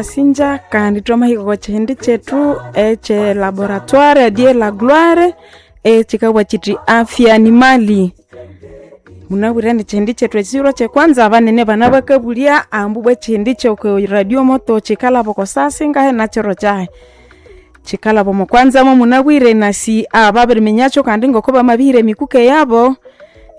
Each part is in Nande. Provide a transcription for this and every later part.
Wasinja kandi twamahika okwa kihindi kyethu ekye laboratoire die la gloire ekikabugha kithi afya ni mali. Munabwire indi ekihindi kyethu ekiro kyekwanza abanene banabakabulya ambu ibwa ekihindi kyoko radio moto kikalhaba oko saha singahi nakiro kyahi. Kikalhaba omo kwanza momunabwire nasi ababiriminyakyo kandi ngoko bamabihira emikuke yabo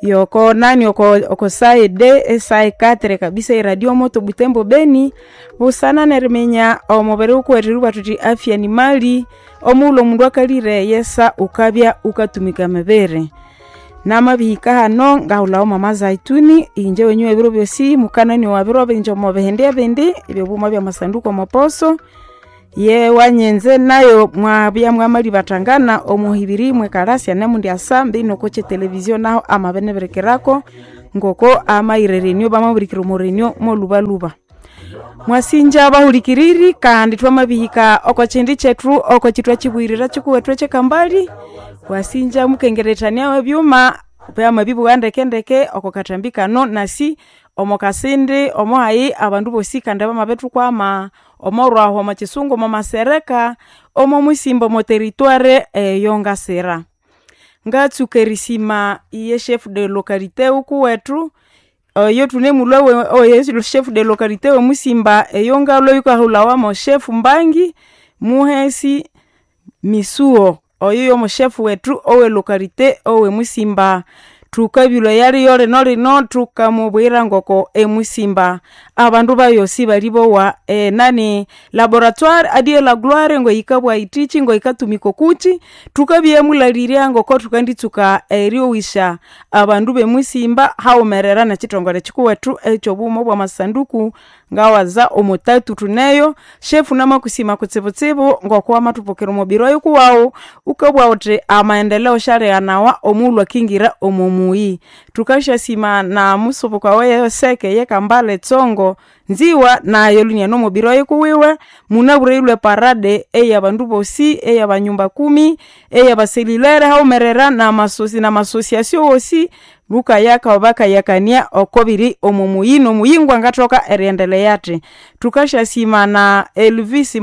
yoko nani oko saide esaha ekatere kabisa eradio moto Butembo Beni busana neriminya omubiri wukuwethu eribugha thuthi afya ni mali. Omughulhu omundu akalire eyesa wukabya wukatumika emibiri. Namabihika hano ngahulhawo mama Zaituni inje wenyu w'ebiro byosi mukanani wa biro bingi omo bihindi ebindi ebyobuma byamasanduku omo poso ye wanyenze nayo mwabya mwamalibathangana omuhibiri mwekalasya nemundi asambi noko kyetelevizio naho amabinibirikirako ngoko amayirerenio bamabirikira omurenio molubaluba. Mwasinja abahulikiriri kandi twamabihika oko kihindi kyethu oko kithwakibuyirira kikuwethu ekyekambali. Wasinja mukengerethania ebyuma byamabibugha ndekendeke oko kathambi kano nasi omo kasindi omo hayi abandu bosi kandi bamabithukwama omorwahu omo kisungu omo masereka omo musimba omo territoire eyongasira. Ngatsuka erisima iye chef de localité wukuwethu oyo thunemulhwa oyo chef de localité wemusimba eyongalhwa yikahulhawa mo chef Mbangi Muhesi Misuo oyo yomo chef wethu owe localité owe musimba. Thukabilwa eyaliyo lino lino thukamubwira ngoko emusimba abandu bayosi balibowa enani laboratoire adie la gloire ngoyikabwa itichi ngoyikatumika okuchi thukabya mulalirya ngoko thukanditsuka eryowisya abandu bemusimba haghumerera nekithongole kikuwethu ekyobuma obwamasanduku ngawaza omutatu thuneyo. Shefu namakusima kutsibutsibu ngoko wamathupokera omubiri oyukuwaghu wukabugha wuthi amaendeleo syalighanawa omughulhu akingira omo muyi. Thukasyasima na musubuka weyoseke eyekambale tsongo nziwa nayo luniane omubiri oyukuwiwe. Munabwire yilhwe parade eyabandu bosi eyabanyumba kumi eyabaselilere haghumerera namasosiasio wosi lukayaka bakayakania okobiri omo muyi nomuyingo angathoka eriendelea athi. Thukasyasima na Elvis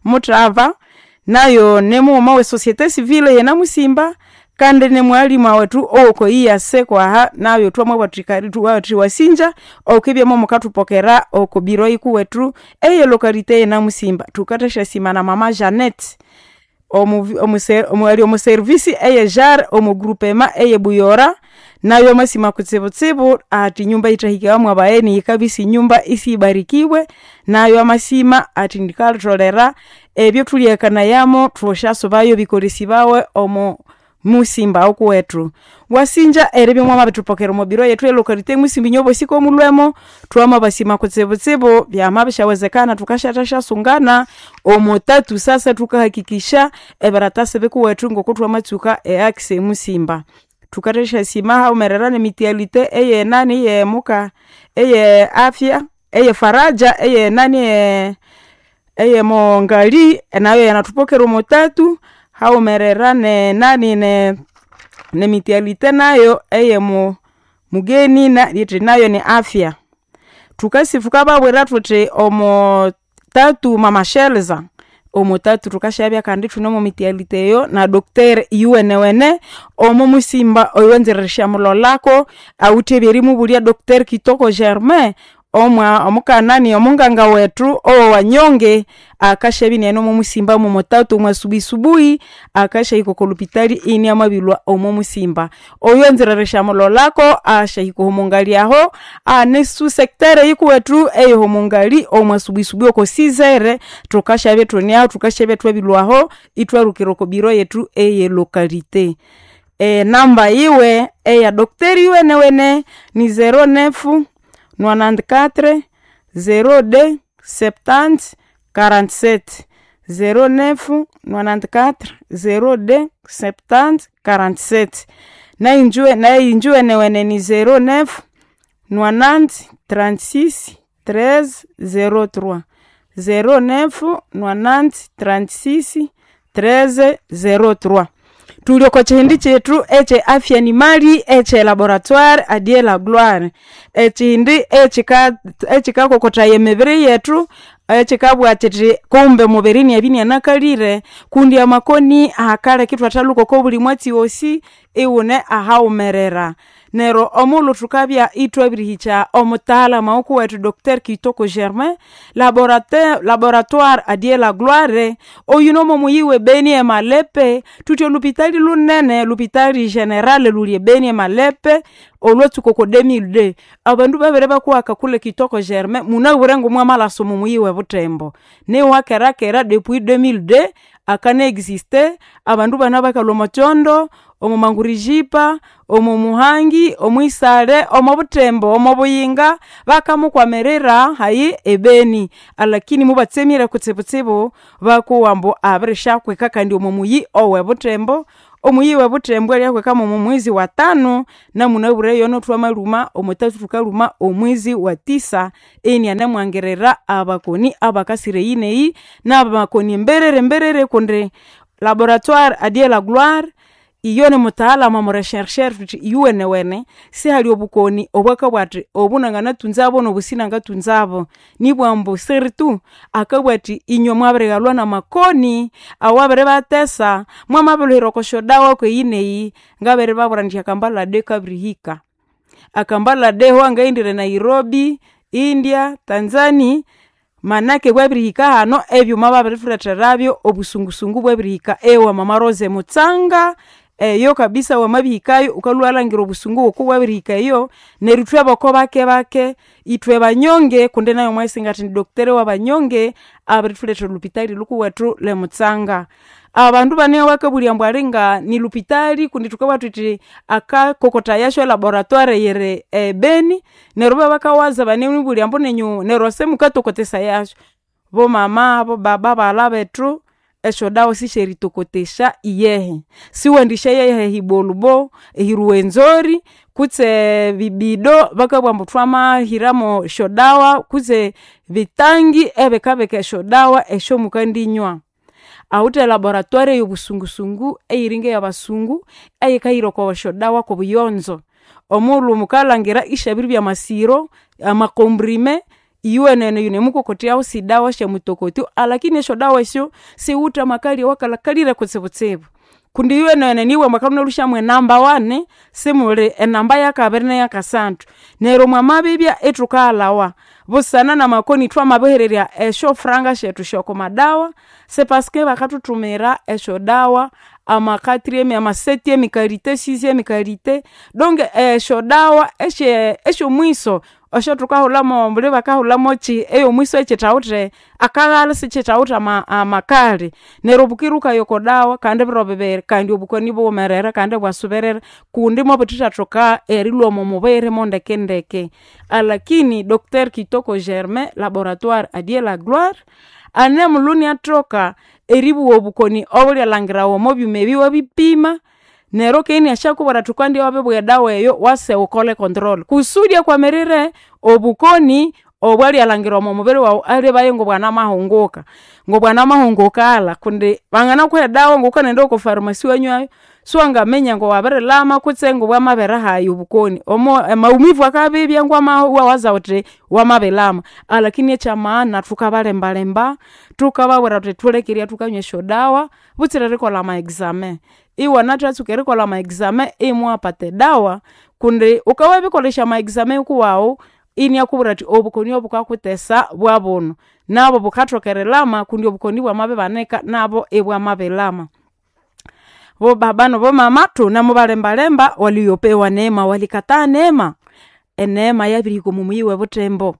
Muthava nayo nimughuma we societe civile yenamusimba kandi nimwalimu wethu owoko EAC kwaha nayo twamabugha wasinja okibya momukathupokera oko biro yikuwethu eye localité yenamusimba. Thukathasyasima na mama Janeth ali omo service eye JAR omo groupement eye Buyora nayo amasima kutsibutsibu athi nyumba yithahikawamu abagheni yikabya isinyumba isibarikiwe nayo amasima athi ndikatholera ebyo thulyakanayamo thusyasubayo bikolesibawe omo musimba okuwethu. Wasinja eribya mwamabithupokera omo biro yethu elocalité emusimba inywe bosi komulhwemo twamabasima kutsibutsibu byamabishyawezekana thukasyathashyasungana omo tatu sasa thukahakikisha ebiratasi bikuwethu ngoko thwamatsuka eaxe emusimba. Thukathasyasima haghumerera nemitialite eyenani eyemuka eye afya eye faraja eyenani eyemongali nayo yanathupokera omo tatu haghumerera nenani nemitialite nayo eyemu mugeni yithi nayo ni afya. Thukasi thukababwira thuthi omo tatu mama Shelza omo tatu thukasyabya kandi ithune omo mitialite eyo na docteur yuwenewene omo musimba oyowanzire erishyamulholako awithe ebyerimubulya Docteur Kitoko Germain omukanani omunganga wethu owawanyonge akasyabya iniane omo musimba momotatu omwasubuisubuhi akasyahika oko lupitali iniamabilhwa omo musimba. Oyo anzire erishyamulholako asyahika omungali aho ane su-secteur eyikuwethu eyomungali omwasubuisubuhi oko 6h thukasyabya ithune thukasyabya ithwabilhwaho ithwalukira oko biro yethu eye localité. Enamba yiwe eya docteur yuwenewene ni 09 94 02 70 47 09 94 02 70 47 nayinjuwenewene ni 09 90 36 13 03 09 90 36 13 03. Thuli oko kihindi kyethu ekye afya ni mali ekye laboratoire adie la gloire. Ekihindi ekikakokothaya emibiri yethu. Ekikabugha kiti kumbe omubiri inabya inianakalire kundi amakoni akaleka ithwathalhuka oko buli mwatsi wosi ighune ahaghumerera. Neryo omughulhu thukabya ithwabirihikya omutaalhamu owukuwethu Dr Kitoko Germain laboratoire adie la gloire oyuno mwomuyi we Beni emalepe thuthi olhupitali lunene lupitali general lhuli ebeni emalepe olhwatsuka oko 2002 abandu babere bakuhaka kule Kitoko Germain munabwire ngomwamalhasa omo muyi webuthembo niwakerakera depuis 2002 akana existe abandu ibana bakalhwa omo kyondo, omo mangurijipa, omo muhangi, omwisale, omo buthembo, omo buyinga bakamukwamirira hayi ebeni alakini mubatsemire kutsibutsibu bakowa ambu abirisyakwika kandi omo muyi owe buthembo. Omuyi webuthembo alyakwika mwomo mwezi wa tano namunabwire yono thwamalhuma omwathathu thukalhuma omwezi wa tisa inianemwangirira abakoni abakasira eyi neyi nabakoni emberere mberere kundi laboratoire adie la gloire iyo nimutaalamu omo rechercher thuthi iyuwenewene sihali obukoni obwakabugha athi obu nanganathunzabo nobu sinangathunzabo nibugha ambu surtout akabugha athi inywe mwabirighalwa namakoni awabiribathesa mwamabilhuhira oko syodawa kweyi neyi ngabiribabwira indi akambala de kabirihika. Akambala de wangaghendire Nairobi, India, Tanzani manake bwabirihika hano ebyuma babirithulhetherabyo obusungusungu bwabirihika ewa mama Rose Mutsanga eyo kabisa wamabihikayo wukalhwa iwalhangira obusungu ngokubwabirihika eyo neryo ithwe boko bake bake ithwe banyonge kundi nayo mwayisinga athi ni doctor wabanyonge abirithulethera olhupitali lhukuwethu lwemutsanga. Abandu bane bakabulya ambu alinga nilhupitali kundi thukabugha thuthi akakokotayasyo elaboratoire yiri ebeni neryo ibabakawaza banemubulya ambu nenyu neryo simukatokotesayasyo. Bomama, bobaba, baghalha bethu esyodawa sisyeritokotesya iyehe. Siwendisyayaha ehibolubo, ehiruwenzori kutse ebibido bakabugha ambu thwamahiramo esyodawa kutse bitangi ebikabika esyodawa esyomukandinywa. Awithe elaboratoire eyobusungusungu eyiringa eyabasungu eyikahira oko syodawa kwobuyonzo. Omughulhu mukalhangira isyabiribya amasiro, amakomprime iyuwenene yunemukokotyahu sidawa syamutokotyo alakini esyodawa esyo siwithe amakali awakalhakalire kutsibutsibu. Kundi iyuwenene nibughambu akalhwa inalhusyamu enamba wani simuli enamba yakabiri neyakasathu. Neryo mwamabibya ithukaghalhawa busana namakoni thwamabihererya esyofuranga syethu syokomadawa sipaske bakathuthumira esyodawa amakatrieme amasetieme kalite sixieme kalite donc esyodawa esyomwiso esyathukahulhamo mbuli bakahulhamokyi eyomwiso ekyithawithe akaghalha isikyithawithe amakali. Neryo bukira wukaya oko dawa kandi ebiro bibiri kandi obukoni ibughumerera kandi ibwasuberera kundi mwabuthithathoka erilhwa omo mubiri mondekendeke. Alakini Dr Kitoko Germain laboratoire adie la gloire anemulhwa iniathoka eribugha obukoni obulyalhangirawa omo byuma ebi iwabipima neryo keghe iniasyakubwira athi wukandibya wabiribugha edawa eyo wase wukole control kusudi akwamirire obukoni obwalyalhangira omo mubiri wawu alebaye ngobwanamahunguka. Ngobwanamahunguka alha kundi banganakuha edawa ngokukanaghenda oko pharmacy iwanywayo siwangaminya ngowabirilhama kutse ngobwamabere hayi obukoni. Omo emaumivu akabibya ngwamahu iwawaza wuthi wamabilhama alakini ekyamaana thukabalembalemba thukababwira thuthi thuleke eribya thukanywa esyodawa butsira erikolha ama examen. Iwanathatsuka erikolha ama examen imuwapata edawa kundi wukawabirikolesya ama examen wukuwawu iniakubwira athi obukoni obukakuthesa bwabunu nabo bukathoka erilhama kundi obukoni bwamabibanika nabo ibwamabilhama. Bobaba nabomama thunemubalembalemba waliopewa neema walikataa neema. Eneema yabirihika omo muyi webuthembo.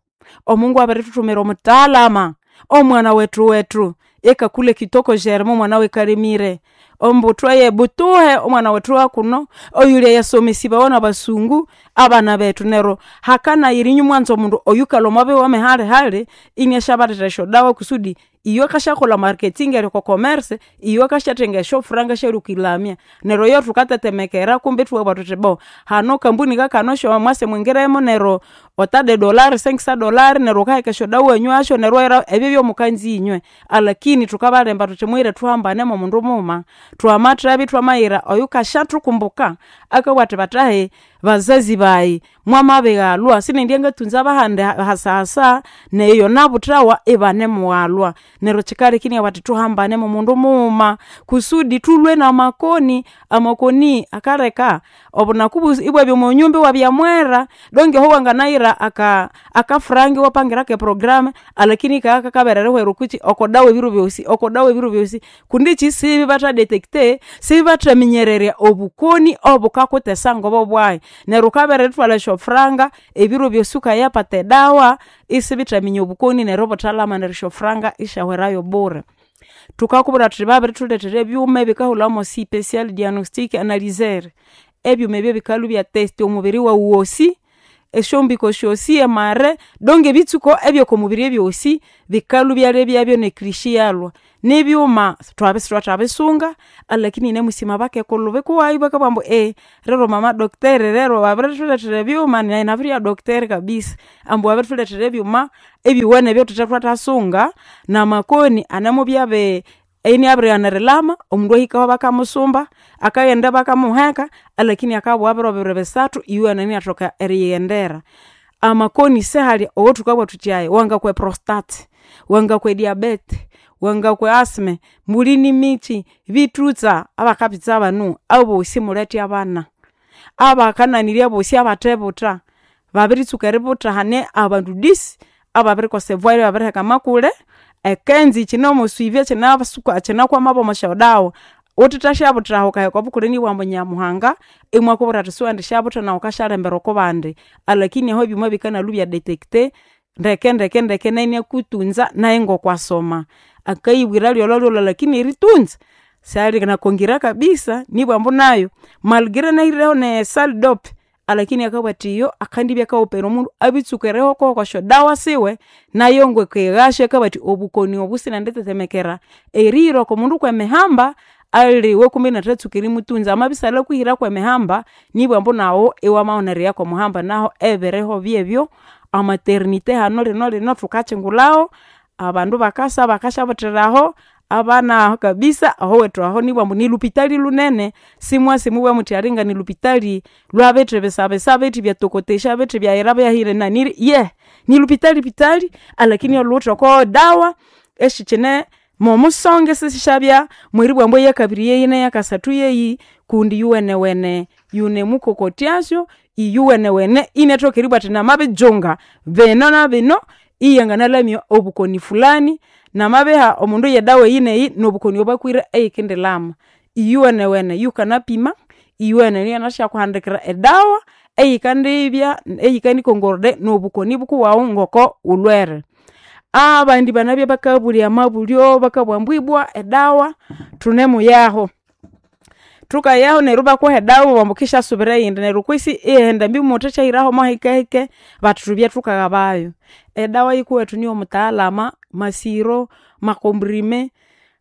Omungu abirithuthumira omutaalama omwana wethu wethu ekakule Kitoko Germain omwana wekalemire ombuthwa yebutuhe omwana wethu wakuno oyulya yasomesibawa nabasungu abana bethu neryo hakanayira inywe mwanza omundu oyukalhwa omo bihugo mihalihali iniasyabalethera esyodawa kusudi iyo akasyakolha marketing eri oko commerce iyo akasyathenga esyofuranga syerikwilamya. Neryo iyo thukatetemekera kumbe ithwabugha thuthi bo hano kambuni kakano mwase mwingiremo neryo otade dolari senkisa dolari neryo wukaheka esyodawa iwanywasyo neryo iwahira ebyo byomukanzi inywe. Alakini thukabalemba thuthi mughire thuhambane momundu mughuma thwamathabya ithwamayira oyukasyathukumbuka akabugha athi bathahi. Bazazi bayi mwamabighalwa sinendya ngatunza bahandi hasahasa neyo nabuthawa ibanemughalwa. Neryo kyikaleka inabugha athi thuhambane momundu mughuma kusudi thulwe namakoni. Amakoni akaleka obunaku bwosi ibwabya omwanyumba iwabya mwera donge aho wanganayira akafuranga iwapangira keprogramme alakini kakabera erihwera okukyi okodawa ebiro byosi okodawa ebiro byosi kundi ekyi sibatha detecter sibathaminyererya obukoni obukakuthesa ngobobwahi. Neryo wukabere erithwalha esyofuranga ebiro byosi wukayapata edawa isibithaminya obukoni neryo ibuthalhama neryo esyofuranga isyahwerayo bure. Thukakubwira thuthi babirithulethera ebyuma ebikahulhawa special diagnostic analyzer. Ebyuma ebyo bikalhwa ibyatesta omubiri wawu wosi, esyombiko syosi amare donge ebitsuko ebyokomubiri ebyosi bikalhwa ibyalebyabyo nekrishi iyalhwa. Nibyuma thwabya isithwathabisunga alakini nemusima bakekulhu bikuwayi bakabugha ambu rero mama docteur rero wabirithulethera ebyuma nayi nabiribya docteur kabisa. Ambu wabirithulethera ebyuma ebyowene ebyathuthe thwathasunga namakoni anemubya iniabirighana erilhama, omundu ahikaho bakamusumba, akaghenda bakamuheka alakini akabugha biro bibiri bisathu iyuwene iniathoka eriyighendera. Amakoni sihali owathukabugha thuthi aya wangakwa eprostate, wangakwa ediabete, wangakwa asthma, muli nimikyi, bithutsa abakabitsa banu abosi mulhethe abana. Abakananirya abosi abathebutha babiritsuka eributha hane abandu dix ababirikosa evoie ibabiriheka amakule, ekenzi yikine mosuivi kyinakwamabo omwasyodawa. Wuthethasyabuthira ahu wukaheka obukule inibugha ambu nyamuhanga imwakubwira athi siwendisyabutha nawu wukasyalembera okubandi. Alakini ahu ebyuma bikanalhwa ibyadetecter ndekendeke ndeke nayu iniakutunza nayu ngokwasoma. Akayibwira lyolholyolho lakini eritunza syali nakongira kabisa nibwa ambu nayu malgre nahireho ne salle dop alakini akabugha athi iyo akandibya akawopera omundu abitsuka erihekawo okwasyodawa siwe nayu ngokwighasyo akabugha athi obukoni obu singendithetemekera erihira okomundu kwemihamba aliwe kumbe inathatsuka erimutunza. Amabya isalikwihira kwemihamba nibwa ambu nawu iwamabana eriya kwomuhamba nahu ebiriho byebyo. Amaternity hanu linolino thukakyingulhahu, abandu bakasa bakasyabuthiraho, abana kabisa ahowethu aho nibwa ambu nilhupitali lhunene simwasi mubughe muthi alinga nilhupitali lwabithi bisabisa bithi byatokotesya bithi byayira byahirinaniri ye nilhupitali pitali alakini olhuwithe okodawa esikyine momusonge sisisyabya mweribugha ambu eyakabiri yeyi neyakasathu yeyi kundi yuwenewene yunemukokotyasyo iyuwenewene inathoka eribugha athi namabijunga bino na bino iyanganalamya obukoni fulani namabiha omundu yedawa eyi neyi nobukoni obwakwire eyikindilhama. Iyuwenewene yukanapima, iyuwenewene yanganasyakuhandikira edawa eyikandibya eyikandiconcorder nobukoni bukuwawu ngoko wulhwere. Abandi banabya bakabulya amabulyo bakabugha ambu ibwa edawa thunemuyahu. Thukayahu neryo ibakuha edawa ibabugha ambu wukendisubira eyindi neryo kwisi iwaghenda ambi muthethahiraho hikehike bathi thubye thukaghabayu. Edawa yikuwethu niyomutaalama masiro, makomprime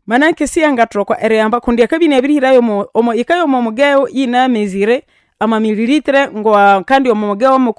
manake siyangathoka erihamba kundi akabya inabirihirayu omo yikaya omwamugeyo iyina mesure amamililitre ngowa kandi omwamugeyo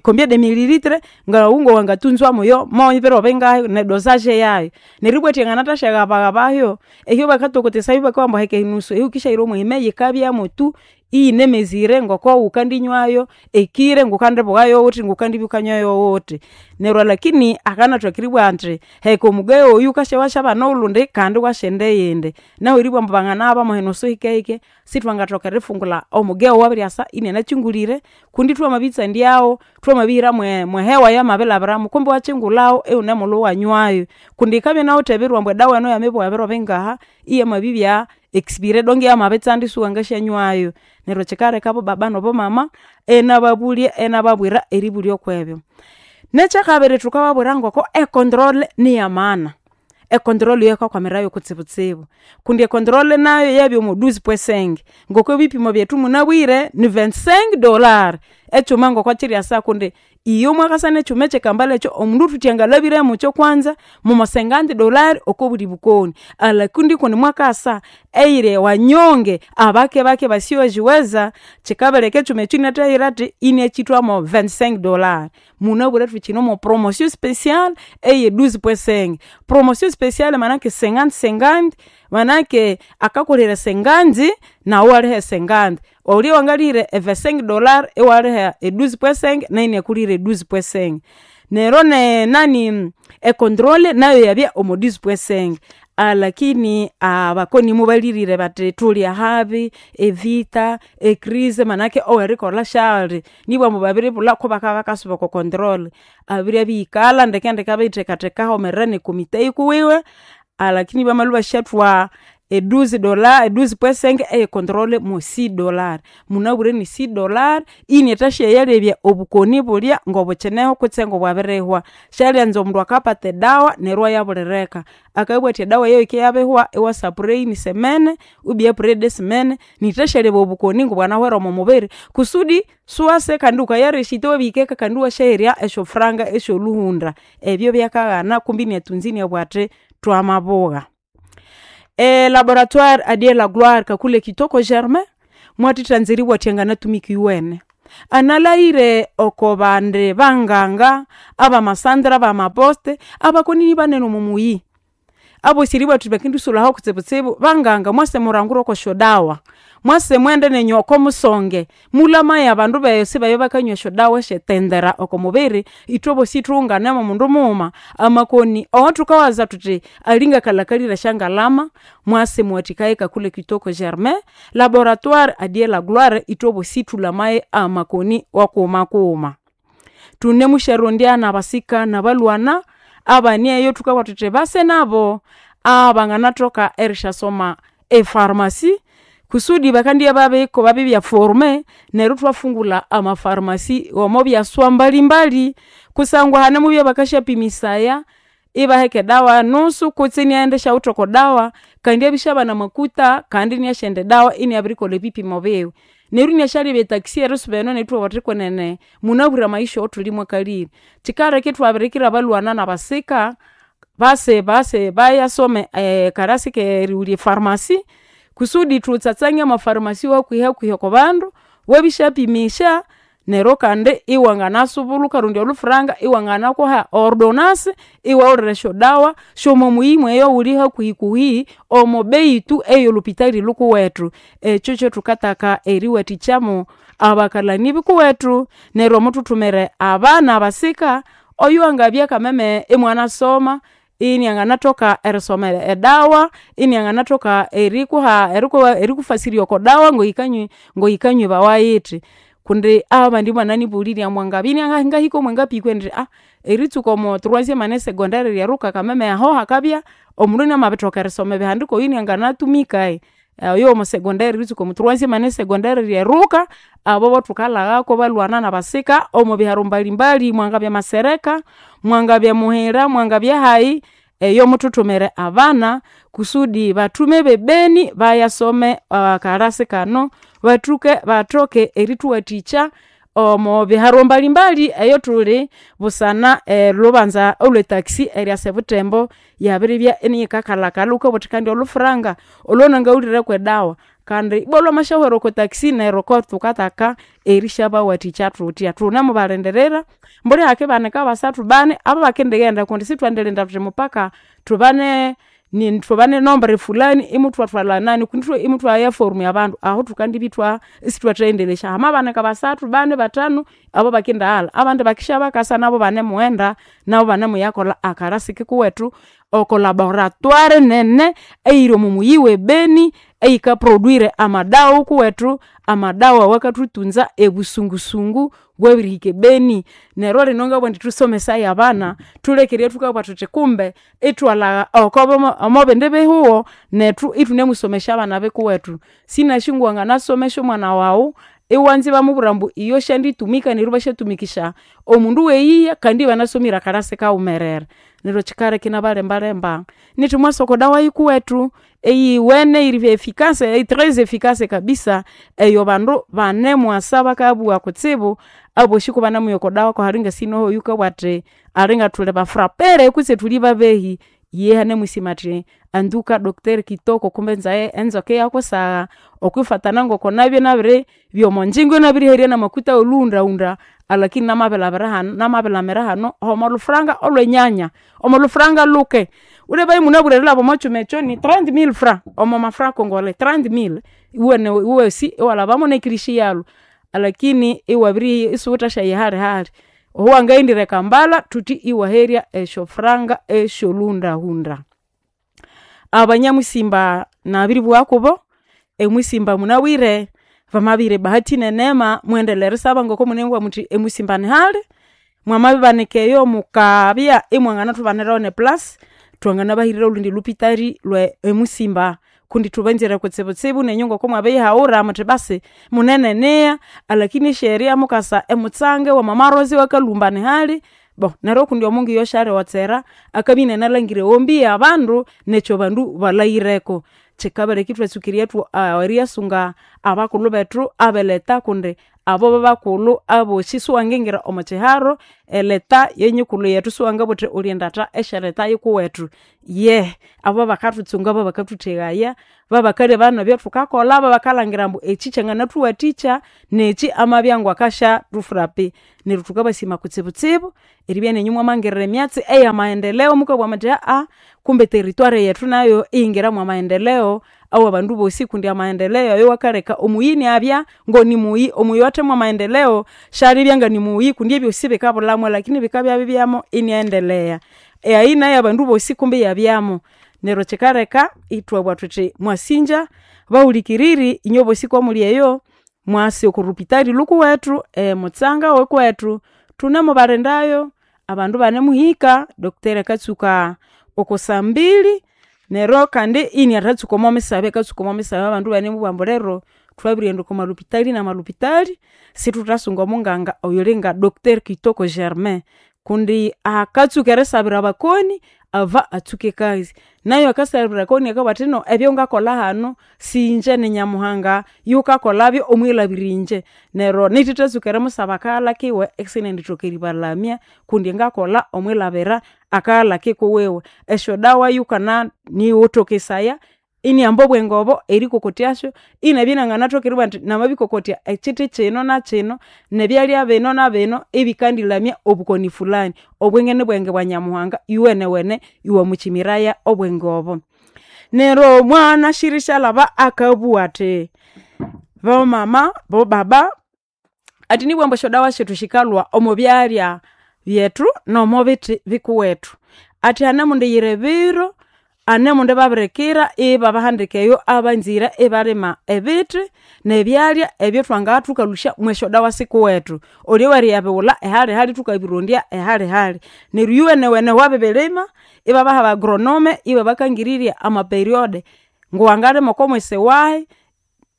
combien de mililitre ngawu ngowangatunzwa muyo mobiro bingahi nedosage yayu. Neryo ibwa athi anganathasyaghabaghabayo ehyo bakatokotesayo bakabugha ambu heka enusu eyawukisyahira omwehime yikabyamutu iyinemesure ngokowukandinywayo ekiro ngukandibughayo wuthi ngukandibya wukanywayo wuthi. Neryo alakini akanathoka eribugha athi heka omugeyo oyu wukasya wasyabana olhundi kandi iwasyenda eyindi. Nahu eribugha ambu banganaghabamo enusu hikehike sithwangathoka erifungulha omugeyo owabiryasa inanakyingulire kundi thwamabitsandyawu thwamabihira mwehewa eyamabilhabiramu kumbe iwakyingulhawu iwunemulhwa iwanywayu. Kundi yikabya inawithe ebiro ambu edawa enu yamibowa ebiro bingaha iyamabibya expire donge iyamabitsanda isiwangasyanywayu. Neryo kyikaleka abobaba nabomama inababulya inababwira eribulya okwebyo. Nekyakabiri thukababwira ngoko econtrol niyamaana. Econtrol eyo yikakwamirirayo kutsibutsibu kundi econtrol nayu yabya omo douze point cinq ngoko ebipimo byethu munabwire ni vingt-cinq dollar ekyuma ngokokyiryasa kundi iyo mwakasa nekyuma ekyekambala ekyo omundu thuthi angalhabire mukyo kwanza momo cinquante dollar okobuli bukoni alakini kundi mwakasa eyiri wanyonge abakebake basiyojiweza kyikabaleka ekyuma ekyo inyathahira athi inyakyithwa mo vingt-cinq dollar. Munabwire thukyine omo promotion special eye douze point cinq. Promotion special manake cinquante cinquante manake akakulhira cinquante nawu iwaliha e cinquante. Olya wangalihira $25 iwaliha 12.5 nayo inakulihira 12.5. Neryo ne nani econtrole nayo yabya omo 12.5. Alakini abakoni mubalirire bathi thuli ahabi evita ecrise manake owerikolha syali nibwa babiribulha kubakabya bakasuba oko controle. Abiribya abiyikalha ndekendeke abiriyithekatheka ahawumerere nekomite yikuwiwe alakini bamalhwa ibasyathwa $12 12.5 eye controle mo $6. Munabwire ni $6 inathasyayalebya obukoni bulya ngobukyineho kutse ngobwabirihwa. Syalyanza omundu akapata edawa neryo iwayabulireka. Akabugha athi edawa eyo yikiyabihwa iwasa après une semaine ou après deux semaines nithasyalebya obukoni ngobwanahwere omo mubiri kusudi siwase kandi wukayareshita iwabihika kandi iwasyaherya esyofuranga esyolhuhunda. Ebyo byakaghana kumbi inyathunza inabugha athi thwamabugha. Elaboratoire a Dieu la gloire Kakule Kitoko Germain mwathithanza eribugha athi anganatumika iyowene. Analahire oko bandi banganga abamasandra abamaposte abakonini banene omo muyi. Abosi eribugha thuthi bakendisulhaho kutsibutsibu banganga mwase murangure oko syodawa, mwase mwende nenyu oko musonge mulamaye abandu besi babya bakanywa esyodawa esyetendera oko mubiri ithwe bosi ithunganemo mundu mughuma. Amakoni awathukawaza thuthi alingakalhakalire esyangalama mwase muwathikaye Kakule Kitoko Germain laboratoire a Dieu la gloire ithwe bosi ithulamaye amakoni wakughuma kughuma. Thunemusyarondya nabasika nabalhwana abani eyo thukabugha thuthi base nabo abanganathoka erisyasoma epharmacy kusudi bakandibya babibya forme neryo ithwafungulha amapharmacy omo byaswa mbalimbali kusangwa hanemubya bakasyapimisaya ibaheka edawa nusu kutse inaghenda isyawithe oko dawa kandi abisyabana amakutha kandi inyasyenda edawa inabirikolha ebipimo biwe. Neryo inyasyalebya etaxi erisuba eno neryo ithwabugha thuthi kwenene munabwire amaisha awathuli mwakalire. Kyikaleka ithwabirikira abalhwana nabasika base base bayasome ekarasi kerighulya epharmacy kusudi thutsatsanye amapharmacy wahakuhi oko bandu wabisyapimisya neryo kandi iwanganasubulha wukarondya olhufuranga iwanganakuha ordonance iwawulira esyodawa syomo muyi mweyo wuli hakuhikuhi omo bei tu eyolhupitali lhukuwethu. Ekyo kyathukataka eriwathikyamu abakalhani bikuwethu neryo muthuthumire abana abasika oyuwangabya kameme imwanasoma inianganathoka erisoma edawa inianganathoka erikuha erikufasirya oko dawa ngoyikanywebawa yithi. Kundi abandi ibananibulirye ambu angabya ngahika omwangapikwe indi eritsuka omo troisieme année secondaire ryeruka kameme aho hakabya omundu inamabithoka erisoma ebihandiko oyu inianganatumika. Oyo womo secondaire eritsuka omo troisieme année secondaire ryeruka abo bothukalhaghako balhwana nabasika omo biharo mbalimbali mwangabya masereka, mwangabya muhira, mwangabya hayi eyo muthuthumire abana kusudi bathume bebeni bayasome akarasi kano bathuke bathoke erithuwathikya omo biharo mbalimbali eyo thuli busana elhubanza olwe taxi eryasa ebuthembo yabiribya iniyikakalhakalha wukabugha wuthi kandi olhufuranga olhwanangawulhire kwedawa kandi ibwa lhwamasyahwera oko taxi neryo kothukataka erisyabawathikya thuthya. Thunemubalindirira mbuli hakibanika basathu bani ababakendighenda kundi sithwandilinda thuthi mupaka thubane thubane nombre fulani imuthwathwalha nani kundi imuthwaya form abandu ahu thukandibya ithwa isithwathayendelesya. Hamabanika basathu, bani, bathanu ababakindaghalha abandi bakisyabakasa nabo ibanemughenda nabo ibanemuyakolha akarasi kikuwethu oko laboratoire nene eyiri omo muyi we Beni eyika produire amadawa wukuwethu amadawa awakathuthunza ebusungusungu bwabirihika ebeni. Neryo lino ngabugha indi thusomesaye abana thulekere thukabugha thuthi kumbe ithwalhagha oko omobindi bihugho nethu ithunemusomesya abana bikuwethu. Sinasi ngowanganasomesya omwana wawu iwanza ibamubwira ambu iyo syanditumika neryo ibasyatumikisya omundu weyiya kandi ibanasomire akarasi kaghumerere. Neryo kyikaleka inabalembalemba nithi mwase oko dawa yikuwethu eyiwene eyiri efficace tres efficace kabisa eyo bandu banemwasa bakabugha kutsibu abosi kubanemuya oko dawa kuhali ngasinoho oyukabugha athi alinga thuli bafrapere kutse thuli babehi iye anemusima athi anduka docteur Kitoko kumbe enzoka iyakusagha okwifatana ngoko nabya nabiribya omonjingo inabiriherya namakutha wolhughundahunda alakini namabilhabira hanu namabilhamira hanu omo lhufuranga olwenyanya omo lhufuranga lhuke. Ulebaye munabwire erilhaba omo kyuma ekyo ni 30,000 francs omo mafranc congolais 30,000 iwene iwosi iwalhabamo nekirishi yalhu. Alakini iwabiri isiwuthasyaya halihali. Oho wangaghendire e Kampala thuthi iwaherya esyofuranga esyolhuhundahunda. Abanyamusimba nabiribugha kubo, emusimba munabwire bamabihira ebahati neneema mughendelere erisaba ngoko munamubugha muthi emusimba nihali, mwamabibanika eyo mukabya imwanganathubanirayo ne place, thwanganabahirira olhundi lhupitari lwe emusimba kundi thubanzire kutsibutsibu nenyu ngoko mwabiriyihawulha muthi basi munene eniha alakini esye area mukasa emutsanga ewa mama Rose iwakalhumba nihali bo neryo kundi omungu iyosyaliotsera akabya inanalhangira ewombi yabandu nekyo bandu balhaghireko. Kyikabaleka ithwatsuka eriyasunga abakulhu bethu abeleta kundi abo babakulhu abosi siwangingira omo kyiharo eleta yenyukulhu yethu siwangabugha wuthi wulhindatha esyaleta yikuwethu. Yehe abo bakathuntsunga babakathutheghaya, babakalebaya nebyathukakolha, babakalhangira ambu ekyi kyanganathuwathikya nekyi amabya ngakasyathufurapi. Neryo thukabasima kutsibutsibu eribya nenyu mwamangirira emyatsi eyamaendeleo mukabugha muthi kumbe eterritory yethu nayo iyingira mwamaendeleo awabandu bosi kundi amaendeleo ayo wakaleka omuyi inabya ngonimuyi, omuyi owathemu mwamaendeleo syalibya nganimuyi kundi ebyosi bikabulhamu lakini bikabya bibyamo inaghendelea. Eaina yabandu bosi kumbe iyabyamu. Neryo kyikaleka ithwabugha thuthi mwasingya bahulikiriri inywe bosi ngomuli eyo mwase oko rupitari lhukuwethu emutsanga wikuwethu thunemubalindayo, abandu ibanemuhika, doctor akatsuka oko sambili neryo kandi inathatsuka omo misabe akatsuka omo misabe abandu ibanemubugha ambu lero thwabirighenda oko malhupitali namalhupitali isithuthasunga omunganga oyulinga doctor Kitoko Germain kundi akatsuka erisabira abakoni ava atsuke ekasi. Nayu akasabira abakoni akabugha athi ino ebyongakolha hanu singye ni Nyamuhanga yukakolhabyo omwilhabira ingye. Neryo nithithatsuka erimusaba akaghalha kiwe isinendithoka eribalamya kundi ngakolha omwilhabira akaghalha kikuwiwe. Esyodawa yukana nighutokesaya inihamba obwenge obo erikokotyasyo inabya inanganathoka eribugha indi namabikokotya ekyithi kyino nakyino nebyalya bino nabino ibikandilamya obukoni fulani. Obwenge nibwenge bwa Nyamuhanga iyowenewene iwamukyimiraya obwenge obo. Neryo mwanasire isyalhaba akabugha athi bomama, bobaba athi nibugha ambu esyodawa syethu syikalhwa omo byalya byethu nomobithi bikuwethu. Athi hanemundiyira ebiro, hanemundibabirikira ibabahandika eyo abanzire ibalima ebithi nebyalya ebyathwangathukalhusya mwesyodawa sikuwethu. Olye weriyabighulha ehalihali thukabirondya ehalihali. Neryo iyowenewene wabibirima ibabaha aba agronome ibabakangirirya ama periode ngowangalima okomwesi wahi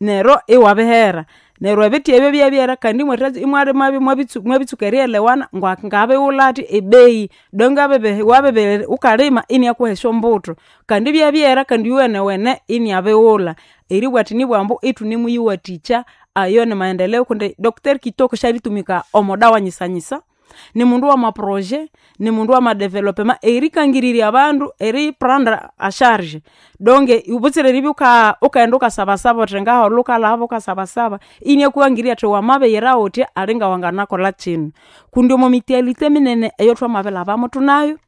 neryo iwabihera. Neryo ebithi ebyo byabyera kandi imwalimabyo mwabitsuka erighelewana ngabighulha athi ebeyi donge wabibi wukalima iniakuha esyombutho. Kandi ibyabyera kandi iyowenewene iniabighulha. Eribugha athi nibwa ambu ithunemuyiwathikya ayo nimaendeleo kundi doctor Kitoko syalitumika omo dawa nyisanyisa, nimundu wama projet, nimundu wama development erikangirirya abandu eri prendre en charge donge butsira eribya wuka wukaghenda wukasabasaba wuthi ngaholha wukalhaba wukasabasaba iniakukangirirya athi wamabiyira wuthya alinga wanganakolha kyino. Kundi omo mutualité minene eyathwamabilhabamu thunayu,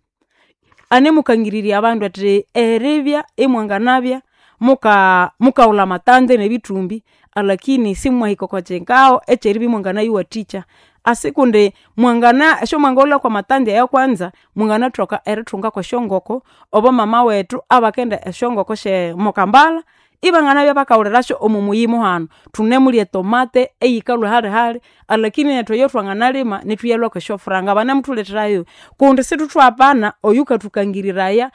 anemukangirirya abandu athi eribya imwanganabya muka mukawulha amatanze nebithumbi alakini simwahika okwakyikawu ekyeribya imwanganayiwathikya. Asi kundi mwangana esyomwangawulha kwamatanzi ayo kwanza mwanganathoka erithunga kwesyongoko obo mama wethu abakenda esyongoko sye moKampala ibanganabya bakawulirasyo omo muyi muhano. Thunemulya etomate eyikalhwa halihali alakini nethu eyathwanganalima nithuyalhwa kwesyofuranga banemuthuletherayo kundi sithuthwapana oyukathukangiriraya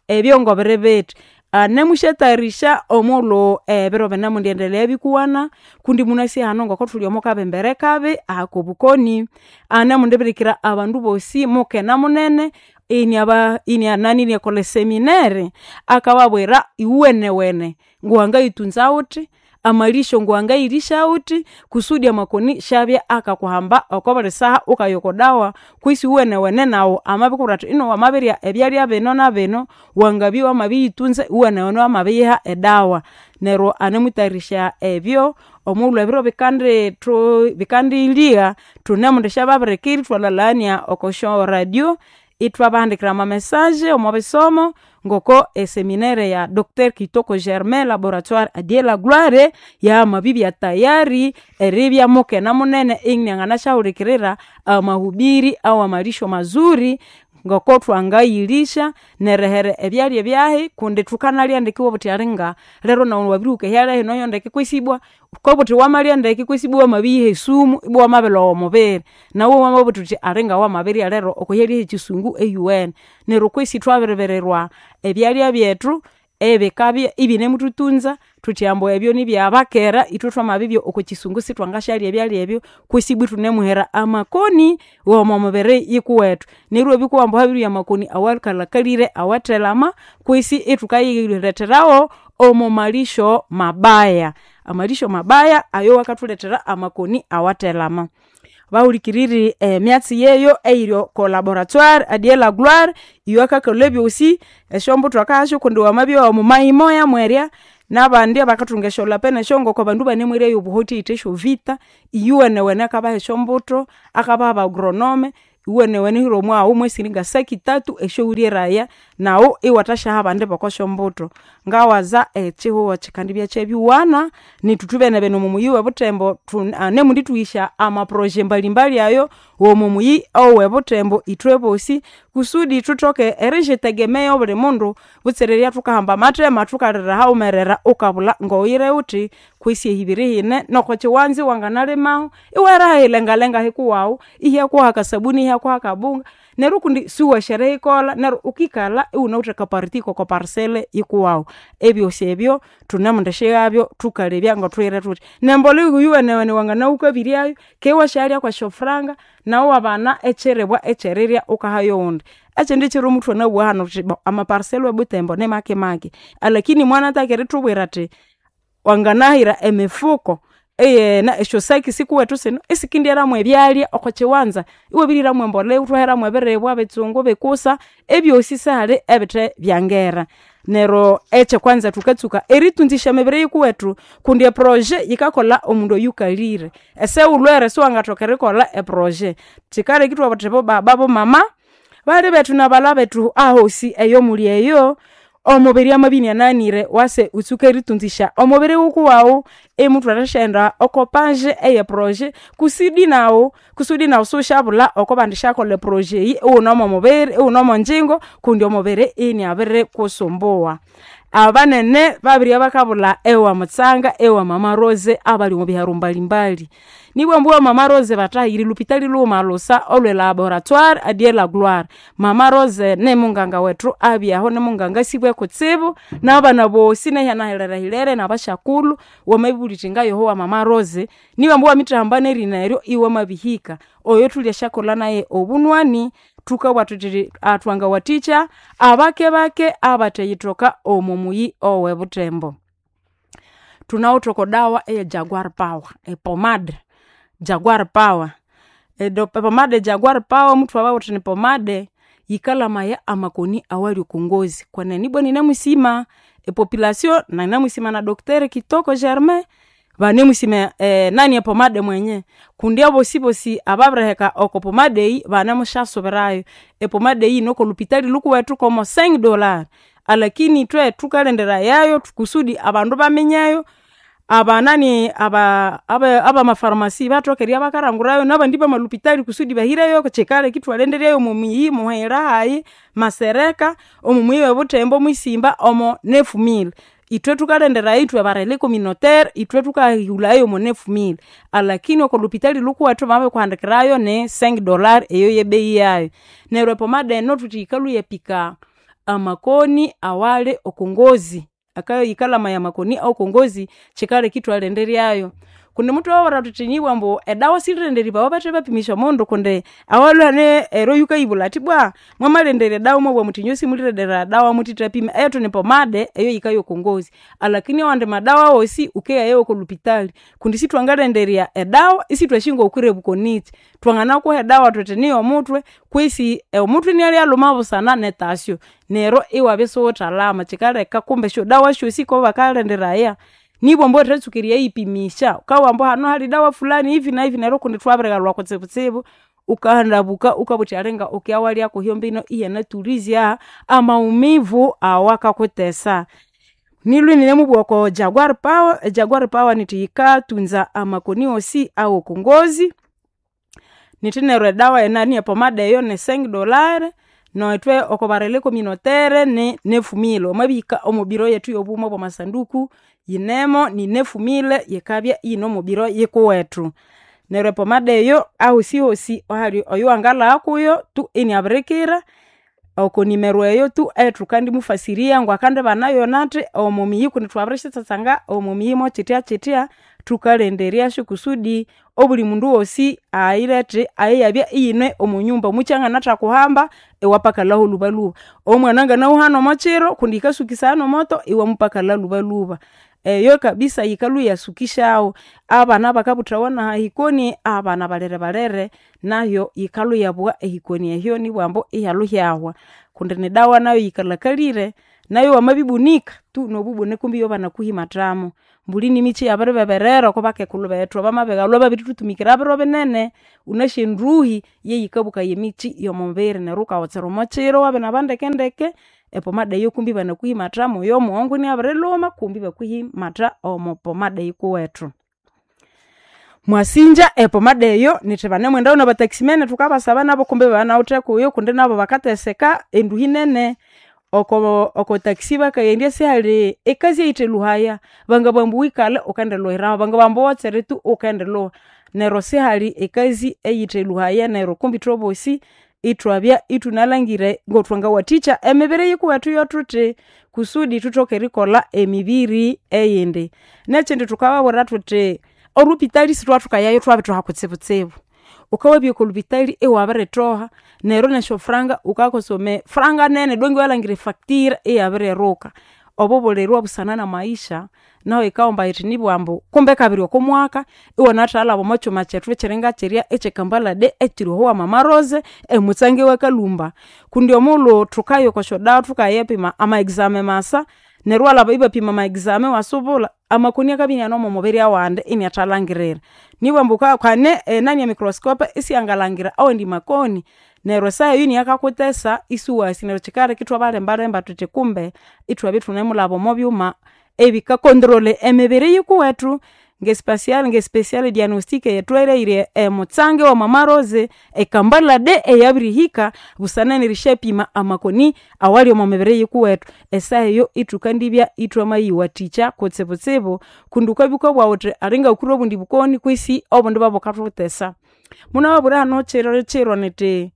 ebyongobiri bithi. Anemusyatayarisha omughulhu ebiro binemwendiendelea bikuwana kundi munasi hanu ngokuthuli omo kabembere kabi akobukoni. Anemundibirikira abandu bosi mukena munene iniaba inianani iniakolha eseminaire akababwira iyowenewene ngowangayitunza wuthi, amalisyo ngowangayilisya wuthi kusudi amakoni syabya akakuhamba okobuli saha wukaya oko dawa kwisi iyowenewene naghu amabikubwira athi ino wamabirya ebyalya bino nabino wangabya wamabiyitunza iyowenewene wamabiyiha edawa. Neryo anemutayarisha ebyo omughulhu ebiro bikandi thu bikandilya thunemwendisyababirikira ithwalhalhania okosyo radio ithwabahandikira ama message omo bisomo. Ngoko eseminaire ya Dr Kitoko Germain laboratoire adie la gloire yamabibya tayari eribya mukena munene inianganasyahulhikirira amahubiri awa malisho mazuri ngoko twangayilisha nerihere ebyalya byahi kundi thukanalya ndeke iwabuthi alinga lero nawu wabirihuka ehyalya hino yo ndeke kwesi ibwa wukabuthi wamalya ndeke kwesi ibwa wamabiyiha esumu ibwa wamabilhowa omubiri. Nawu wamabuthi wuthi alinga wamabirya lero okohyalya hekyisungu eyuwene. Neryo kwesi thwabiribirirwa ebyalya byethu ebikabya ibinemuthutunza thuthi ambu ebyo nibyabakera ithwe thwamabibya okwakisungu sithwangasyalya ebyalya ebyo kwesi ibwa ithunemuhera amakoni womomibiri yikuwethu. Neryo iwabya wukowa ambu habiribya amakoni awakalhakalire awathelama kwesi ithukayiletheragho omo malisho mabaya. Amalisho mabaya ayo wakathulethera amakoni awathelama. Bahulikiriri emyatsi yeyo eyiri oko laboratoire adie la gloire iyo akakolha ebyosi esyombuthu akahasyo kundi wamabya wamumayimoya mwerya nabandi abakathunga esyolapene esyongoko abandu ibanemweryayo obuhoti eyithe esyovita, iyuwenewene akabaha esyombutho, akabaha aba agronome, iwenewene wuhire omwaghu mwesiri ngasaki tatu esyawulyeraya naghu iwathasyaha abandi bokosyombutho. Ngawaza ekyihugho kyikandibya kyabiwana nethu thwibenebene omwamuyi webuthembo anemundithuhisya amaproje mbalimbali ayo womomuyi owebuthembo ithwebosi kusudi thuthoke eriyitegemea obuli mundu butsira eribya thukahamba amathema thukalira haghumerera wukabulha ngowuyire wuthi kwesi ehibiri hine nokokyiwanza iwanganalimahu iwahera ahilengalenga hikuwawu ihakuha akasabuni ihakuha akabunga neryo kundi siwasi eriyikolha neryo wukikalha iwunawithe akaparti koko parcelle yikuwawu. Ebyosi ebyo thunemundisyighabyo thukalebya ngathughire thuthi. Nembolha yuwenewene wangana wukabiryayu keghe iwasyaghalya kwesyofuranga naghu iwabana ekyiribwa ekyerirya wukaha yowundi. Ekyindi kyiro muthwanabugha hanu thuthi bo amaparcelle webuthembo nimakemake alakini mwanataka erithubwira athi wanganahira emifuko esyosaki sikuwethu sino isikindighera mwebyalya okwakiwanza iwabirihira mwembolea ithwahera mwebiribwa bitsungu bikusa ebyosi sihali ebithe byangera. Neryo ekyakwanza thukatsuka eritunzisya emibiri yikuwethu kundi eproje yikakolha omundu oyukalire. Esiwulhwere siwangathoka erikolha eproje. Kyikaleka ithwabugha thuthi bobaba bomama bali bethu nabalha bethu ahosi eyomuli eyo omubiri amabya inianaghanire wase wutsuke eritunzisya omubiri wukuwaghu imuthwendisyaghenda oko page eye proje kusudi naghu siwusyabulha okobandisyakolha eproje eyi iwune mwomubiri iwune mwonjingo kundi omubiri iniabirikusumbuwa. Abanene babiribya bakabulha ewamutsanga ewa mama Rose abali omwabiharo mbalimbali. Nibwa ambu ewa mama Rose bathahire lhupitali lhughuma lhusa olwe laboratoire adie la gloire. Mama Rose nimunganga wethu abyahu nimunganga asibwe kutsibu nabana bosi nehyanahilirehilere nabasyakulhu wamabibulha wuthi ngayoho wa mama Rose nibwa ambu wamitahamba nerina eryo iwamabihika. Oyo thulyasyakolha naye obunywani thukabugha thuthi thwangawathikya abakebake abatheyithoka omo muyi owebuthembo. Thunawithe oko dawa eye jaguar power epomade jaguar power. Epomade jaguar power muthwababwira thuthi nipomade yikalamaya amakoni awali okongozi. Kwenene ibwa ninemusima epopulation nanemusima na Dr Kitoko Germain banemusima enani epomade mwenye kundi abosibosi ababiriheka oko pomade eyi banemusyasubirayo. Epomade eyi yine okolhupitali lhukuwethu komo $5 alakini ithwe thukalenderayayo kusudi abandu baminyeyo abanani abamapharmacy bathoke eribya bakalhangurayo nabandi bamalhupitali kusudi bahireyo kyikaleka ithwalhenderyayo omomuyi muhira hayi masereka omomuyi webuthembo mwisimba omo 9000. Ithwe thukalhenderayo ithwe ba relais communautaire ithwe thukahulhayo omo 9000 alakini okolhupitali lhukuwethu bamabirikuhandikirayo ni $5 eyo yebeyi yayo. Neryo epomade eno thuthi yikalhwa iyapika amakoni awali okongozi. Yikalamaya amakoni awokongozi kyikaleka ithwalhenderyayo. Kundi muthwababwira thuthi nibwa ambu edawa silirenderibawa bathe bapimisya omundu kundi awalhwe ero yukayibulha athi ibwa mwamalhenderya edawa mwabugha muthi inyowe simulirendera dawa muthithapima. Eyethu nipomade eyo yikaya okongozi alakini awandi madawa wosi wukeghaya okolhupitali kundi sithwangalhenderya edawa isithwasi ngokwireba nikyi. Twanganakuha edawa thuthi niyomuthwe kwesi omuthwe inialyalhuma busana netasyo neryo iwabya isiwuthalama kyikaleka kumbe esyodawa syosi kobakalhenderaya nibwa ambu wamathatsuka eriyayipimisya wukabugha ambu hano hali dawa fulani hivi na hivi neryo kundi thwabirigalhwa kutsibutsibu. Ukahandabuka ukabuthi alinga ukyawalya hyombino iyanatulizya amaumivu awakakutesa. Nilwe ninemubugha oko Jaguar Power, eJaguar Power nithi yikatunza amakoni wosi awokongozi. Nithi neryo edawa enani epomada eyo ni $5 nethwe oko ba relais communautaire ni 9000. Wamabihika omo biro yethu yobuma bwamasanduku yinemo ni 9000 yikabya iyine omo biro yikuwethu. Neryo epomada eyo ahosihosi ahali oyuwangalhagha kuyo tu iniabirikira oko nimero eyo tu eyithukandimufasiria ngwakandibana nathi omo miyi kundi thwabirisitsatsanga omo miyi mokyithyakyithya thukalenderyasyo kusudi obuli mundu wosi ayirethe eyabya iyine omo nyumba. Omukyi anganathakuhamba iwapakalhaho lhubalhuba, omwana anganahuha nomokyiro kundi yikasukisaya nomoto iwamupakalha lhubalhuba. Eyo kabisa yikalhwa iyasukisyawo. Abana bakabuthawa nahahikoni abana balere balere nayo yikalhwa iyabugha ehikoni ehyo nibwambu iyalhwa ihyahwa kundi nidawa nayo yikalhakalire nayo wamabibunika tu nobubune kumbi ibabanakuhimathamo. Mbuli nimikyi iyabiribeberera oko bakekulhu bethu abamabighalhwa babirithuthumikira biro binene. Wunasi enduhi yeyikabukaya emikyi yomubiri neryo wukawotsera omokyiro iwabinaba ndekendeke epomada eyo kumbi ibanakuhimathamo oyomughongo iniabirilhuma kumbi ibakuhimatha omo pomada eyikuwethu. Mwasinja epomada eyo nithi banemwendayo naba taximan thukabasaba nabo kumbi ibanawithe kuyo kundi nabo bakateseka enduhi nene. Oko oko taxi bakaghendya sihali ekazi eyitheluhaya, bangabugha ambu wikalhe wukendilhuhiraho, bangabugha ambu wotsere tu wukendilhuha. Neryo sihali ekazi eyitheluhaya neryo kumbi ithwebosi ithwabya ithunalhangire ngothwangawathikya emibiri yikuwethu yothuthi kusudi thuthoke erikolha emibiri eyindi. Nekyindi thukababwira thuthi olhupitali sithwathikayayo ithwabithoha kutsibutsibu. Wukawabya okolhupitali iwabirithoha neryo nesyofuranga wukakosome franga nene donk iwalhangira efacture iyabiriruka. Obo bulirwa busana namaisha nahu yikahomba yithi nibwambu kumbe kabiri oko mwaka iwanathalhaba omo kyuma kyethu kyiringakyirya ekyekambala day ekyiri oho wa mama Rose emutsange wakalhumba. Kundi omughulhu thukaya okwasyodawa thukayipima ama exame masa neryo iwalhaba ibapima ama exame iwasubulha amakoni akabya iniane omo mubiri awandi iniathalhangirira. Nibwambu kane enani emicroscope isiyangalhangira awandi makoni neryo esaha eyo iniyakakutesa isuwasi neryo kyikaleka ithwabalembalemba thuthi kumbe ithwabya ithunemulhaba omo byuma ebika controler emibiri yikuwethu ngespecial ngespecial diagnostic eyathwalheire emutsange wa mama Rose ekambala day eyabirihika busana nerisyapima amakoni awali omo mibiri yikuwethu. Esaha eyo ithukandibya ithwamayiwathikya kutsibutsibu kundi wukabya wukabugha wuthi alinga wukure obundi bukoni kwisi obundi ibwabukathuthesa. Munababwira hano kyiro kyiro nyithi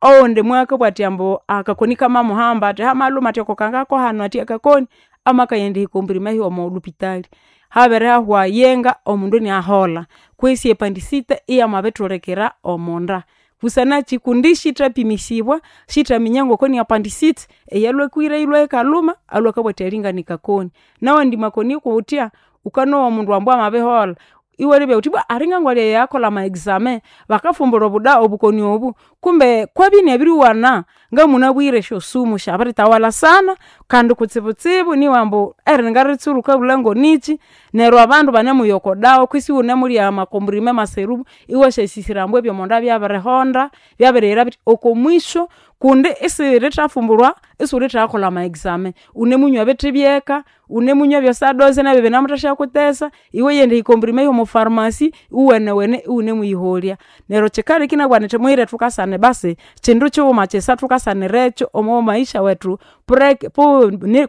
owundi mwakabugha athi ambu akakoni kamamuhamba athi hamalhuma athi okokangako hanu athi akakoni amakayenda ehikombrime hiwe omo lhupitali. Habirihahwa yenga omundu iniaholha kwisi epandicite iyamabithulikira omonda. Busanakyi kundi syithapimisibwa, syithaminya ngoko ni appendicite eyalhwakwire yilhwe yikalhuma alhwe akabugha athi alinga nikakoni. Nawandi makoni kuthya, wukanowa omundu ambu amabiholha iwalebya wuthi ibwa alinga ngwali eyakolha ama exame bakafumbulha obuda obukoni obu kumbe kwabya inabiriwana ngamunabwire esyosumu syabiritawalha sana kandi kutsibutsibu nibwambu eriringa wukabulha ngonikyi neryo abandu banemuya oko dawa kwisi iwunemulya ama comprime ama serum iwasyasisira ambu ebyomonda byabirihonda byabiriyira bithi oko mwisho kundi isirithafumbulwa isiwulithayakolha ama exame. Wunemunywa ebithi byeka, wunemunywa ebye sadoze nabyu binemuthasyakuthesa, iweyenda ehikombrime yomo pharmacy iwenewene iwunemuyiholya. Neryo kyikaleka inabugha nyithi muyire thukasane basi kyindu kyighuma kyisa thukasanirekyo omo maisha wethu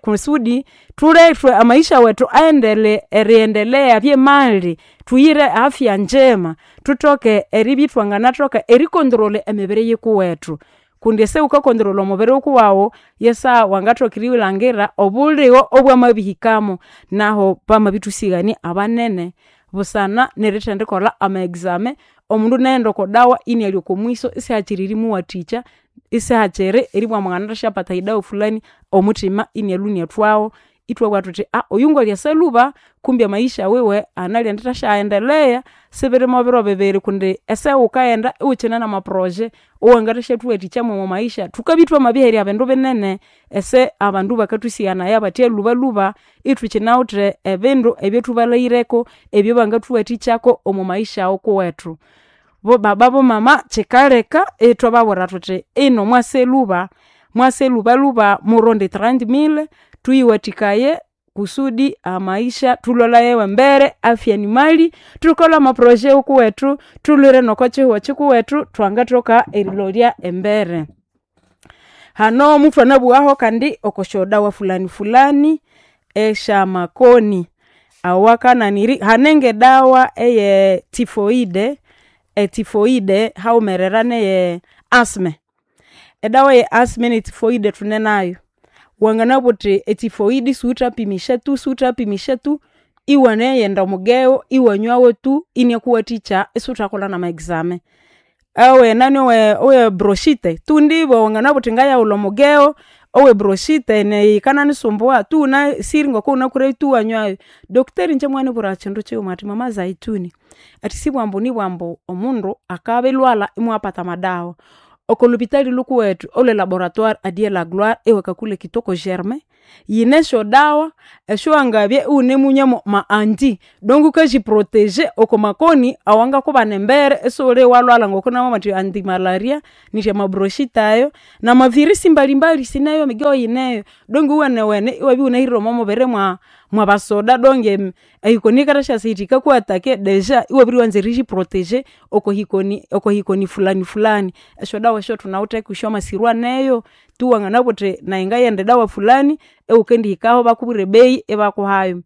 kusudi thulethwe amaisha wethu aendele eriendelea abye mali, tuyire afya njema, thuthoke eribya ithwanganathoka eri controler emibiri yikuwethu. Kundi ese wuka controla omubiri wukuwawu yesaha wangathoka erilhangira obuligho obwamabihikamo. Nahu bamabithusighania abanene busana nerithendikolha ama exame omundu inaghenda oko dawa inialya oko mwiso isihakyiri erimuwathikya, isihakyiri eribugha ambu nganathasyapata edawa fulani omuthima inialhwa iniathwawu ithwabugha thuthi oyu ngwali lhuba kumbi amaisha wiwe analiyendithasyaendelea sibiri mobiro bibiri kundi esaha ewukaghenda iwukyine nama projet owangathasyathuwathikya mwomo maisha. Thukabya ithwamabiherya bindu binene ese abandu bakathusighanaya bathya lhubalhuba ithukyinawithe ebindu ebyathubalaghireko ebyabangathuwathikyako omo maisha wukuwethu. Bo baba bo mama kyikaleka ithwababwira thuthi ino mwaseluba, mwaselubaluba muronde 30,000 tuyiwathikaye kusudi amaisha thulolaye embere, afya ni mali, thukolhe amaproje wukuwethu, thulhwire noko kyihugho kyikuwethu thwangathoka erilolya embere. Hano muthwanabughaho kandi okwasyodawa fulani fulani esyamakoni awakananiri hane ngedawa eye typhoide, etyphoide haghumerera neye asthma. Edawa eye asthma ne typhoide thunenayo. Wanganabugha wuthi etyphoide isiwuthapimisya tu siwuthapimisya tu, iwanaghenda omugeo iwanywawo tu inyakuwathikya isiwuthakolha nama examen. Owenani owe bronchite thundibwa wanganabugha wuthi ngayaghulha omugeo owe bronchite neyi yikananisumbua tu wunasire ngokuwunakwire tu iwanywayu. Doctor ingye mwanibwira kyindu kyighuma athi mama zaituni, athi sibwambu nibwambu omundu akabirwalha imwapata amadawa. Okolhupitali lhukuwethu olwe laboratoire a dieu la gloire ewa kakule kitoko germain, yine esyodawa esyowangabya iwunemunywa mwama anti donc wukagyiproteger okwamakoni awangakubana embere isighuli iwalhwalha ngokunamabugha indi antimalaria nithi amabronchite ayo namavirus mbalimbali sineyo emigeo yineyo donc iwenewene iwabya iwunahirire omwamubiri mwabasoda donc ehikoni yikathasyasa yithi yikaku-attaquer deja iwabiriwanza eriyiproteger okwahikoni okwahikoni fulani fulani. Esyodawa esyo thunawithe kusyo amasiro aneyo, tu wanganabugha wuthi nayi ngaghenda edawa fulani ewukendihikaho ibakubwira ebeyi ibakuhayo.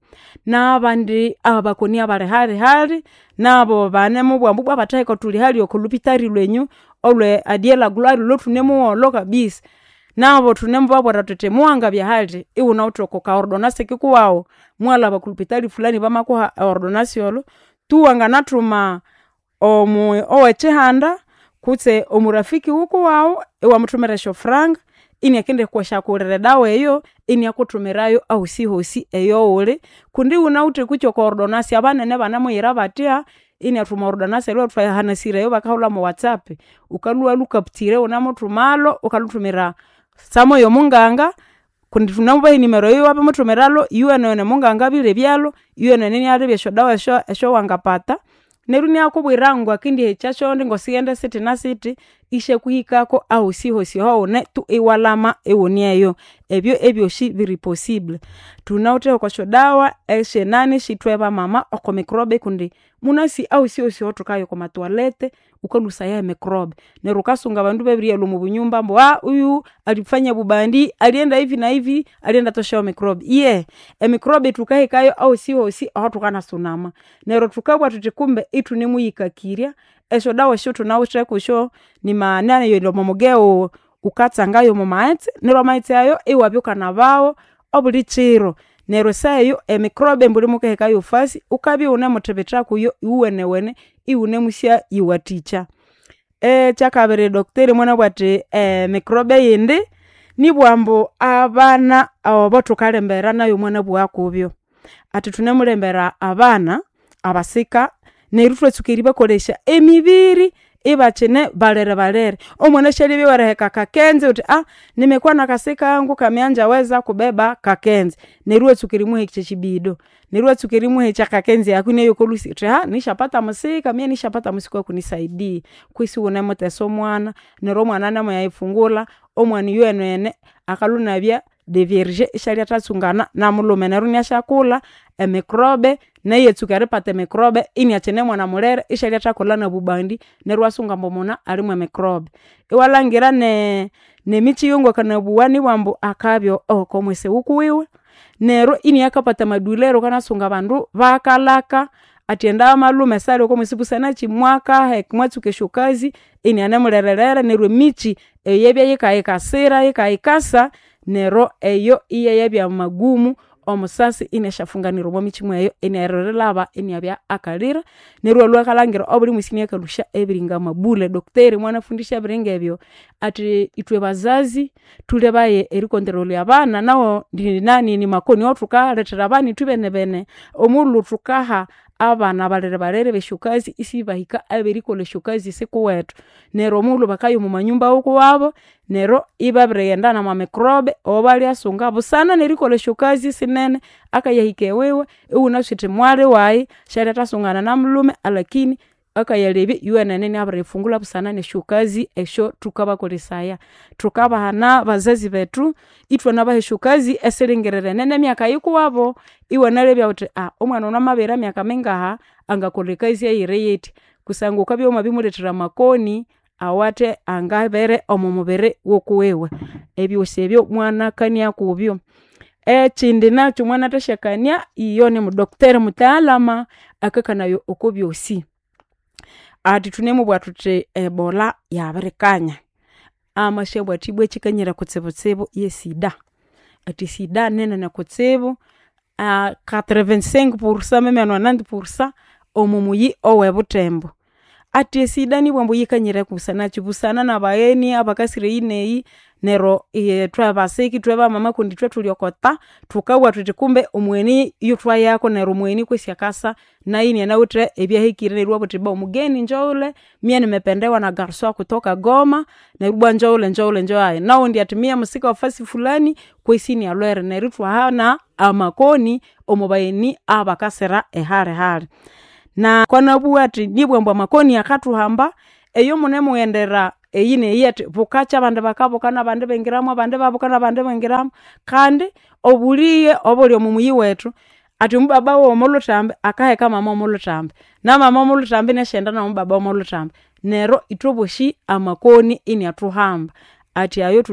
Nabandi abakoni abali hali hali nabo banemubugha ambu ibwa bathaheka thuli hali okolhupitali lwenyu olwe a dieu la gloire olhwathune muwolho kabisa. Nabo thunemubabwira thuthi muwangabya hali iwunawithe okwaka ordonance kukuwawu muwalhaba okolhupitali fulani bamakuha e ordonance olho, tu wanganathuma owekyihanda kutse omurafiki wukuwawu iwamuthumira esyofuranga iniakendisyakughulira edawa eyo iniakuthumirayo ahosihosi eyoghuli kundi iwunawithe kutse okwa ordonance abanene banemuyira bathya iniathuma ordonance thwahanasire eyo bakahulha mo whatsapp. Wukalhwa iwalhucapture iwunemuthumalho wukalhuthumira samo yomunganga kundi thunemubaha enimero eyo iwabimuthumiralho iyowenewene omunganga abilebyalhu, iyowenewene inialebya esyodawa esyawangapata neryo inakubwira ngakendihekya ngosighende sithi nasithi isyakuhikako ahosihosi ahawune tu iwalhama iwuneyo. Ebyo ebyosi biri possible. Thunawithe okwasyodawa esyenani syithwe bamama okwa microbe kundi munasi ahosihosi ahathukaya okwamathoalete wukalhusaya emicrobe neryo wukasunga abandu ibabiriyalhwa omobunyumba ambu huyu alifanya bubandi, alienda hivi na hivi, aliendathoshayo microbe. Iye emicrobe thukahekayo ahosihosi ahathukanasunama neryo thukabugha thuthi kumbe ithunemuyikakirya esyodawa esyathunawithe kusyo nimanani omomugeo wukatsangayo omomaghetse neryo amaghetse ayo iwabya wukanabawo obuli kiro neryo esaha eyo emicrobe mbuli mukahekayo fasi wukabya iwunemuthibitha kuyo iwuwenewene iwunemusyayiwathikya. Ekyakabiri doctor mwanabugha athi emicrobe eyindi nibugha ambu abana abathukalembera nayo mwanabugha kubyo. Athi thunemulembera abana abasika neryo ithwatsuka eribakolesya emibiri ibakyine balerebalere. Omwana syalibya weriheka akakenze wuthi nimekuwa na kasika kangu kameanjaweza kubeba kakenze neryo iwatsuka erimuhekya ekyibido neryo iwatsuka erimuhekya akakenze aku inabya okolhusi wuthi nishapata musika mie nishapata musika wakunisaidia kwisi iwunemutesa omwana neryo omwana namuyayifungulha omwana iyowenewene akalhwa inabya devierge isyalyathatsungana namulhume neryo inasyakulha emicrobe nayu iyatsuka eripata emicrobe iniakyine mwana mulere isyalyathakolha nobubandi neryo iwasunga ambu omwana ali mwemicrobe. Iwalhangira nemikyi eyo ngokwanabugha nibwa ambu akabya okomwisi wukuwiwe neryo iniakapata amaduleur wukanasunga abandu bakalhaka athi enda malume sali okomwisi busanakyi mwakahe mwatsuka esyokazi inianemulererere neryo emikyi eyabya yikayikasira yikayikasa neryo eyo iyayabya magumu omusasi inasyafunganira omwamikyi mweyo iniayirilhaba iniabya akalira neryo iwalhwa wukalhangira obuli mwisi iniakalhusya ebiringa mabule. Doctor mwanafundisya ebiringa ebyo athi ithwe bazazi thulebaye ericontrolinga abana nawo ninani nimakoni awathukalethera abana ithwebenebene. Omughulhu thukaha abana balerebalere besyokazi isibahika aberikolha esyokazi sikuwethu. Neryo omughulhu bakaya omwamanyumba wukuwabo neryo ibabirighenda namamicrobe awabalyasunga busana nerikolha esyokazi sinene akayahika ewiwe iwunasi wuthi mwali wayi syalyathatsungana namulhume alakini. Akayalebya iyowenene inabiriyifungulha busana nesyokazi esyotukabakolesaya. Thukabahana bazazi bethu ithwanabaha esyokazi esiringirirene nemyaka yikuwabo. Iwanalebya wuthi omwana ono amabihira myaka mingaha angakolha ekazi eyiriyitya kusangwa wukabya wamabimulethera amakoni awathe angabere omwamubiri wukuwiwe. Ebyosi ebyo mwanakania kubyo. Ekyindi nakyu mwanathasyakania iyo nimu doctor mutaalama akakanaya okobyosi. Athi thunemubugha thuthi ebola yabirikanya, amasyabugha athi ibwa ekyikanyire kutsibutsibu yesida. Athi esida ninene kutsibu 85% meme 90% omwamuyi owebuthembu. Athi esida nibwambu yikanyire busanakyi, busana nabagheni abakasira eyi neyi neryu ithwe basiki ithwe bamama kundi ithwe thuli okota, thukabugha thuthi kumbe omugheni yuthwayako neryu omugheni kwesi akasa nayu inanawithe ebyahikire neryu iwabugha wuthi omugeni njoghule mie nimependewa na garso wa kutoka goma neryu ibwa njoghule njoghule njowayi. Noghundi athi mie musika wa fasi fulani kwesi inalhwere neryu ithwahana amakoni omwabagheni abakasira ehali hali. Na kwanabugha athi nibwa ambu amakoni akathuhamba, eyomunemughendera eyi neyi athi bukakya abandi bakabuka nabandi ibingiramu abandi ibabuka nabandi ibingiramu. Kandi obulighe obuli omwamuyi wethu, athi omubaba womolhuthambi akaheka mama womolhuthambi, namama womolhuthambi inasyaghenda nomubaba womolhuthambi. Neryu ithwebosi amakoni inathuhamba athi ayo.